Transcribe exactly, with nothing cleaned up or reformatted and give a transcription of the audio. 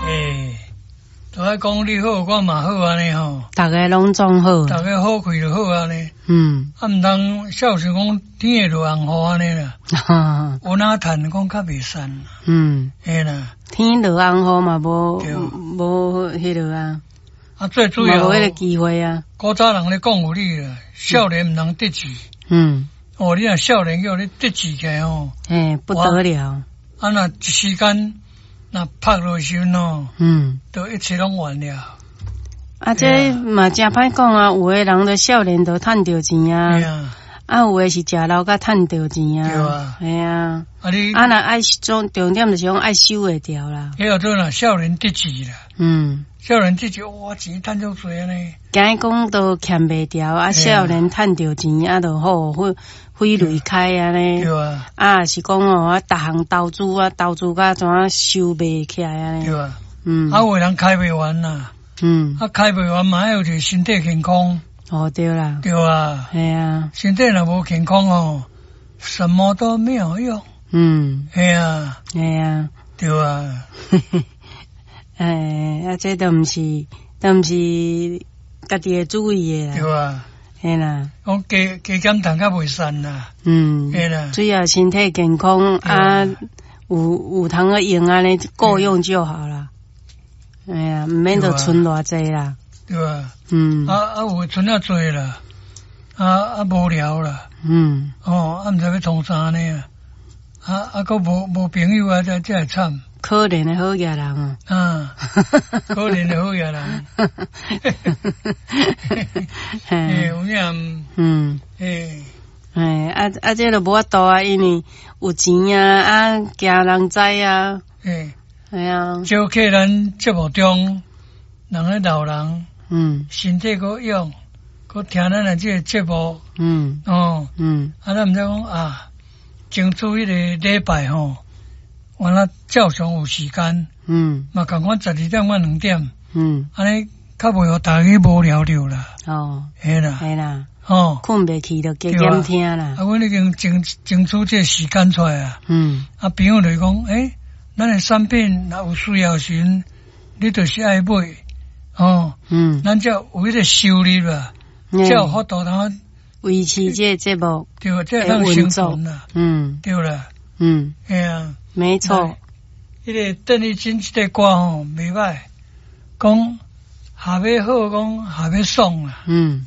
欸，都愛講你好，我嘛好按呢吼。逐家攏總好。逐家好開就好按呢。嗯。啊，毋通孝順講天會落紅雨按呢啦。有哪趁講較袂散。嗯。嘿啦。天落紅雨嘛無無彼落啊。啊，最主要無彼個機會啊。古早人咧講有理啦，少年毋通得志。嗯。哦，你若少年叫你得志起來吼，嘿，不得了。啊，若一時間若拍落時陣哦，嗯，都一切攏完了。啊，這嘛誠歹講啊，有的人就少年就趁著錢啊，啊，有的是食老才趁著錢啊。對啊。嘿啊。啊你啊，若愛重重點就是講愛守會牢啦。彼個做若少年得志啦。嗯。少年得志，哇，錢趁足濟按呢。驚講都欠袂牢，啊，少年趁著錢啊，就好揮揮淚開按呢。對啊。啊，是講哦，啊，逐項投資啊，投資甲怎啊收袂起來按呢。對啊。嗯。啊，有的人開袂完啦。嗯。啊，開袂完嘛，愛有一個身體健康。哦，對啦。對啊。嘿啊。身體若無健康哦，什麼都沒有用。嗯。嘿啊。嘿啊。對啊。欸，啊，這都毋是，都毋是家己會注意的啦。對啊。嘿啦。講加加減趁較袂散啦。嗯。嘿啦。主要身體健康啊，有有通個用按呢夠用就好啦。哎呀，毋免著存偌濟啦。對啊。嗯。啊啊，有存啊濟啦，啊啊無聊啦。嗯。哦，啊毋知欲創啥呢？啊啊，閣無無朋友啊，這這會慘。可憐的好額人啊！啊，可憐的好額人。欸，有影。嗯。欸。欸，啊啊，這就無法度啊，因為有錢啊，啊，驚人知啊。欸。係啊。招客咱節目中，人咧老人，嗯，身體閣勇，閣聽咱的這個節目，嗯。哦。嗯。啊，咱毋知講啊，爭取彼個禮拜吼。完了，照常有時間，嗯，嘛仝款十二點到兩點，嗯，按呢較袂予大家無聊著啦。哦，嘿啦，嘿啦，哦，睏袂去就加減聽啦。啊，阮已經爭爭取這個時間出來啊。嗯。啊，朋友就講，欸，咱的產品若有需要時陣，你就是愛買，哦，嗯，咱才有彼個收入啦，才有法度通維持這個節目，對，才會當生存啦。嗯，對啦，嗯，嘿啊。沒錯，彼個鄧麗君這個歌吼袂䆀，講下欲好，講下欲爽啦。嗯。